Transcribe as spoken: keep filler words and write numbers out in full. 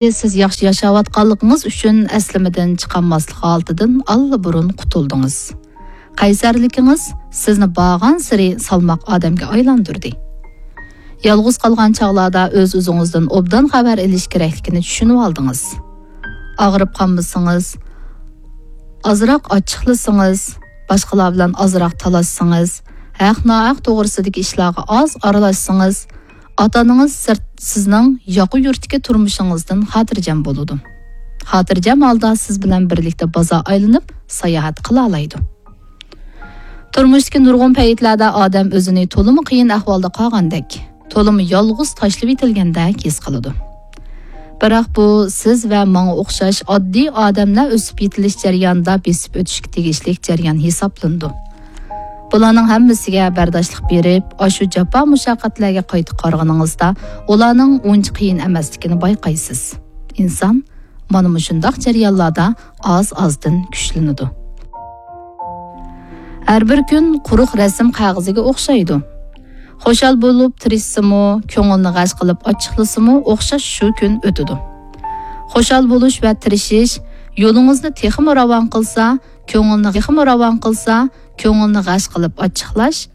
سىز ياخشى ياشاۋاتقانلىقىڭىز ئۈچۈن ئەسلىمىدىن چىقالماسلىق ھالىتىدىن ئاللىبۇرۇن قۇتۇلدىڭىز. قەيسەرلىكىڭىز سىزنى بارغانسېرى سالماق ئادەمگە ئايلاندۇردى. يالغۇز قالغان چاغلاردا ئۆز-ئۆزىڭىزدىن ئوبدان خەۋەر ئېلىش كېرەكلىكىنى چۈشىنىۋالدىڭىز. ئاغرىپ قالمىسىڭىز، ئازراق ئاچچىقلىسىڭىز، باشقىلار بىلەن ئازراق تالاشسىڭىز، ھەق-ناھەق توغرىسىدىكى ئىشلارغا ئاز ئارىلاشسىڭىز، ئاتا-ئانىڭىز سىرت سىزنىڭ ياقا يۇرتتىكى تۇرمۇشىڭىزدىن خاتىرجەم بولىدۇ. خاتىرجەم ھالدا سىز بىلەن بىرلىكتە بازار ئايلىنىپ ساياھەت قىلالايدۇ. تۇرمۇشتىكى نۇرغۇن پەيتلەردە ئادەم ئۆزىنى تولىمۇ قىيىن ئەھۋالدا قالغاندەك، تولىمۇ يالغۇز تاشلىۋېتىلگەندەك ھېس قىلىدۇ. بىراق بۇ سىز ۋە ماڭا ئوخشاش ئاددىي ئادەملەر ئۆسۈپ يېتىلىش جەريانىدا بېسىپ ئۆتۈشكە تېگىشلىك جەريان ھېسابلىنىدۇ. بۇلارنىڭ ھەممىسىگە بەرداشلىق بېرىپ، ئاشۇ جاپا مۇشەققەتلەرگە قايتا قارىغىنىڭىزدا، ئۇلارنىڭ ئۇنچە قىيىن ئەمەسلىكىنى بايقايسىز. ئىنسان مانا مۇشۇنداق جەريانلاردا ئاز-ئازدىن كۈچلىنىدۇ. ھەر بىر كۈن قۇرۇق رەسىم قەغىزىگە ئوخشايدۇ. خۇشال بولۇپ تىرىشسىمۇ، كۆڭۈلنى غەش قىلىپ ئاچچىقلىسىمۇ، ئوخشاش شۇ كۈن ئۆتىدۇ. خۇشال بولۇش ۋە تىرىشىش يولىڭىزنى تېخىمۇ راۋان قىلسا، كۆڭۈلنى تېخىمۇ راۋان قىلسا، كۆڭۈلنى غەش قىلىپ ئاچچىقلاش